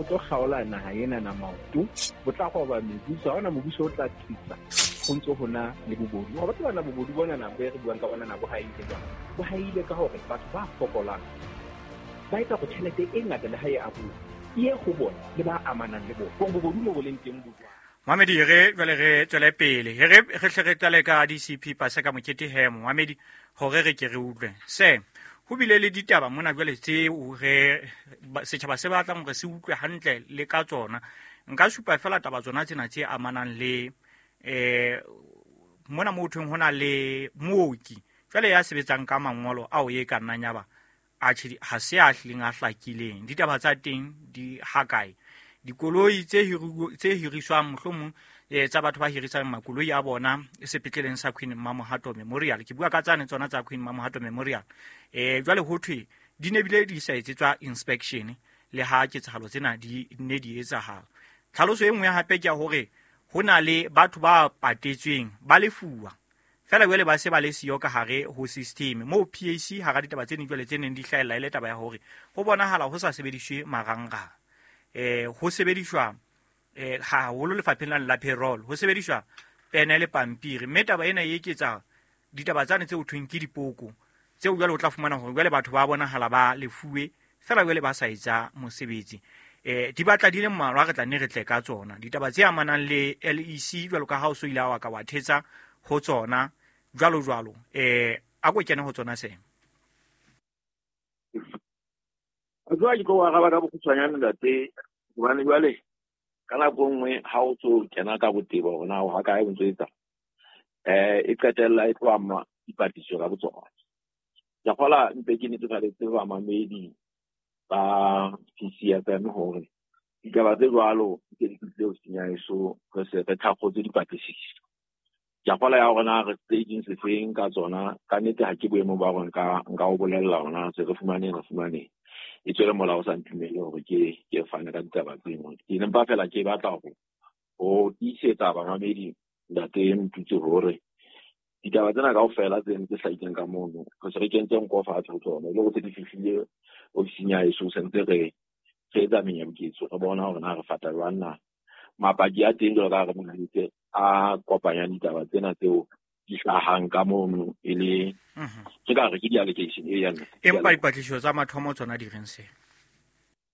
Bo tlo kgaola naha ena na maoto, bo tla roba mebuso. Ha hona mobuso o tla tsitsa ho ntso ho na le bobodu. Wa tseba na bobodu bona na bo e re buang ka bona na bo haile jwang? Bo haile ka hore batho ba fokolang ba etsa hore tjhelete e ngata le ha e abuwa e ye ho bona le ba amanang le bona. Hore bobodu mo bo leng teng bo jwang? Mohamedi, re jwale re tswele pele re re hle re qale ka DCP Paseka Mokete he Mohamedi, hore re ke re utlwe se ho bile le ditaba mona jwale tseo re setjhaba se batlang hore se utlwe hantle le ka tsona. Nka supa fela taba tsona tsena tse amanang le mona mo thweng ho na le mooki jwale ya sebetsang ka mangolo ao e ka nnang ya ba atjhe ha se a hlileng a hlakileng. Ditaba tsa teng di hakae? Dikoloi tse tse hiriswang mohlomong tsa batho ba hirisang makoloi a bona sepetleleng sa Queen Mamohato Memorial, ke bua ka tsane tsona tsa Queen Mamohato Memorial, jwale ho thwe di ne bile di sa etsetswa inspection le ha ketsahalo tsena di ne di etsahala. Tlhaloso e nngwe hape ke ya hore ho na le batho ba patetsweng ba lefuwa fela jwale ba se ba le siyo ka hare ho system moo PAC hara ditaba tse ding jwale tse neng di hlahella e le taba ya hore ho bonahala ho sa sebediswe marangrang, ho sebediswa haholo lefapheng la payroll, ho sebediswa pene le pampiri, mme taba ena e eketsa ditaba tsane tse ho thweng ke dipoko tseo jwale o tla fumana hore jwale batho ba bonahala ba lefuwe fela jwale ba sa etsa mosebetsi. Di batla di le mmalwa, re tla nne re tle ka tsona ditaba tse amanang le LEC jwalo ka ha o so ile wa ka wa thetsa ho tsona jwalo jwalo. A ko kene ho tsona se Jwale ke tlo araba ka bokgutshwanyane ntate, hobane jwale ka nako e nngwe ha o tso kena ka botebo hore na o ha kae o ntso etsa, e qetella e tlo ama dipatlisiso ka botsona. Ke kgola mpe ke netefaletse bamamedi ba PCFM hore ditaba tse jwalo di ke di fihlile ofising ya heso, re se re thakgotse dipatlisiso. Ke a kgola ya hore na re staging sefeng ka tsona, ka nnete ha ke boemong ba hore nka o bolella hore na se re fumaneng, re fumaneng. E tswele molao o sa ntumelle hore ke fane ka ditaba tseno. Ke ne mpa fela ke batla hore ho tiisetsa bamamedi ntate Motutsi hore ditaba tsena kaofela tse ntse hlahileng ka mono, re se re kentse nko fatshe ho tsona, e le hore se di fihlile ofising ya heso, se ntse re etsa menyabuketso, re bona hore na re fata jwang na. Mapaki a teng jwalo ka ha re monahetse a kopanyang ditaba tsena tseo di hlahang ka mono e le ke ka re ke di-allegation e ya nna. Empa dipatlisiso tsa mathomo tsona di reng se?